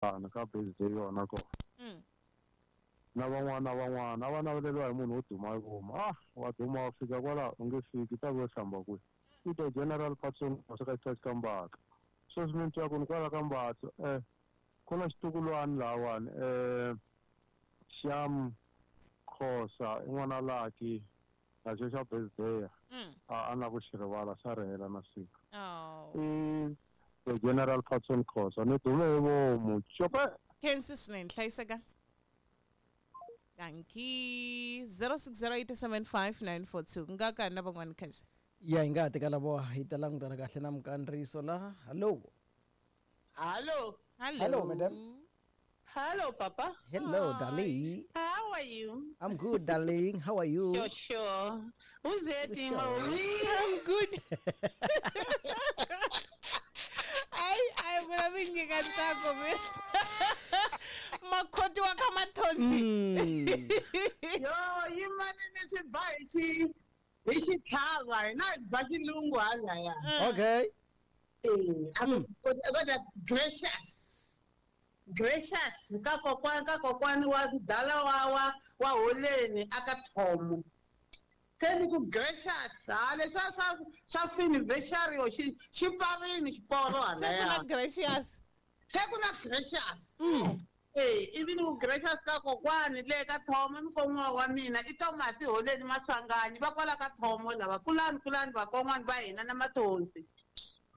Ka birthday yona kona. Na van'wana na van'wana a va naveleriwa hi munhu wo duma hi vomu. Ah, wa duma wa fika kwala u nge fiki ta ku hlamba kwihi. I the General Patson ka xitachi ka Mbatha. Sweswi mi ni twa ku ni kwala ka Mbatha ku na xitukulwana lahawani Sham Khosa i n'wana Lucky na xo xa birthday a na ku xi rivala xa ri hela na siku. I the General Patson Khosa ni dume hi vomu cope. Khensi swinene hlayiseka. Dankie. 0608759442. Ku nga ka na van'wani khensa. Ya hi nga ha teka lavo hi ta langutana kahle na mukandziyiso la. Hello. Hello. Hello. Hello, madam. Hello, Papa. Hello, darling. How are you? I'm good, darling. How are you? Sure, sure. Who's that, Sure. Marie? I'm good. Ai, ai vula mi nyika ntsako mina. Makhoti wa ka Mathonsi. Yo, yimani ni swi ba hi xi hi xitlhava hina hi ba xilungu halaya. Okay. Eh, a ku kodwa gracious. Gracious ka kokwani wa dala wa holeni aka Thomo. Se ni ku gracious ha leswa swa finiversary xi pfarini xiporo Se ku na halaya. gracious. Se ku na gracious. Eh, ivi ni ku gracious ka kokwani le ka Thomo mikon'wana wa mina i Thomas Holeni Maswanganyi va kwala ka Thomo lava kulani vakon'wana va hina na Mathonsi.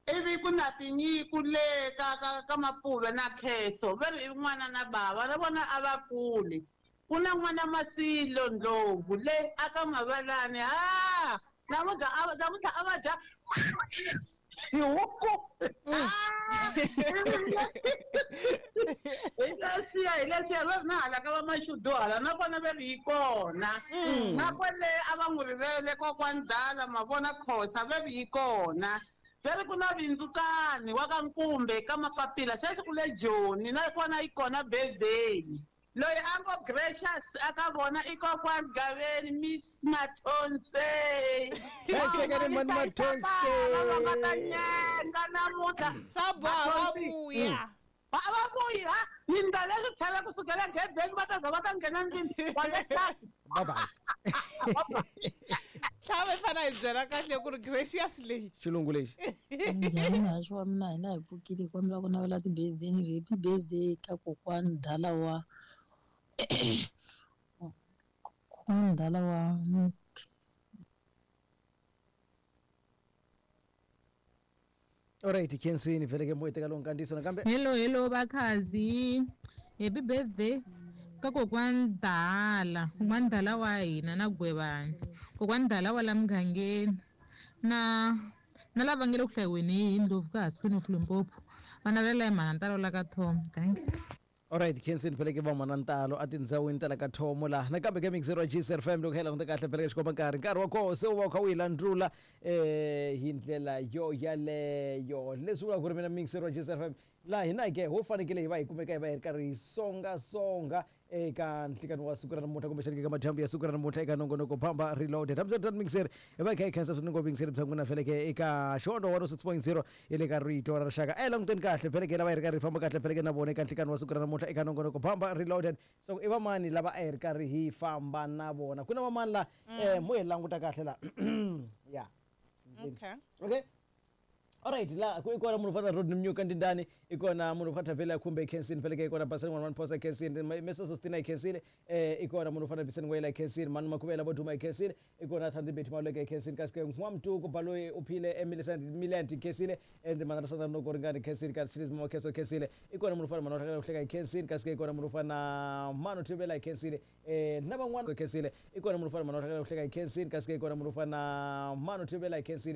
Ivi ku na tinyiku le ka Mapuve na Kheso va ri i n'wana na bava na vona a va kuli. Ku na n'wana Masilo Ndlovu le aka Mavalani ha namuntlha a va dya hi huku. Hi leswiya va ri na hala ka va Mashudu hala nakona va ri yi kona. Na kwale a va n'wi rivele kokwani Dala Mavona Khosa va ri yi kona. Va ri ku na Vindzukani wa ka Nkumbe ka Mapapila sweswi ku le Joni na kona yi kona birthday. Loyi a ngo gracious aka vona i kokwani Gaveni Miss Mathonsi. Hlayisekani mani Mathonsi. Va nga ta nyenga namuntlha. Swa boha va vuya. Va vuyi ha ni ndla leswi tlhela kusukela gedeni va ta za va ta nghena ndlwini wa le tlhaka. Bye bye. Tlhava hi fanele hi byela kahle ku ri gracious leyi. Xilungu lexi. Njhani muhaxi wa mina hina hi pfukile hi kombela ku navela ti-birthday ni happy birthday ka kokwani Dala wa kokwani Dala wa Alright, khensini vhele ke moya teka lowu nkandziyiso nakambe. Hello vakhazi. Happy birthday ka kokwani Dala, kokwani Dala wa hina na Gwevani. Kokwani Dala wa la mugangeni na lava nge le ku hlayiweni hi Ndlovu ka Queen of Limpopo. Va navela hi mhana Ntalo la ka Thomo. Thank you. Alright, khensini vhele ke va mhana Ntalo a tindhawini ta la ka Thomo laha. Nakambe ke mixer wa GCR FM loko hi languta kahle vhele ke xikomba nkarhi wa koho se wu va wu kha wu yi landzula hi ndlela yo yaleyo. Leswi vulaka ku ri mina mixer wa GCR FM laha hina ke ho fanekele hi va hi kumeka hi va hi ri karhi hi songasonga eka nhlikani wa siku ra namuntlha kumbexana eka madyambu ya siku ra namuntlha eka nongonoko Bamba Reloaded. Hambiswiritano mixer hi va hi kha hi khensa swinene ngopfu mixer bya n'wina vhele ke eka Xihondzo 106.0 ya le ka Rito ra Rixaka. A hi languteni kahle vhele ke lava hi ri karhi hi famba kahle vhele ke na vona eka nhlikani wa siku ra namuntlha eka nongonoko Bamba Reloaded. So i vamani lava a hi ri karhi hi famba na vona? Ku na vamani la mo hi languta kahle la. Yeah. Okay. Okay. Alright, la ku ikona munhu fana Rodney Mnyuka Ndindani, ikona munhu fana Vela Khumbe Kensini, vhele ke ikona Basani 11 Posa Kensini, Mesoso Stina Kensini, ikona munhu fana Biseni Ngwela Kensini, Manu Makhubela Boduma Kensini, ikona Thandi Bethu Maleke Kensini, kasi ke N'wamtuku Baloyi Uphile Emily Miland Kensini, and Manana Sandra Nokoringani Kensini, kasi Chris Mokheso Kensini, ikona munhu fana Manu Hleka Kensini, kasi ke ikona munhu fana Manu Thibela Kensini, na van'wana Kensini, ikona munhu fana Manu Hleka Kensini, kasi ke ikona munhu fana Manu Thibela Kensini.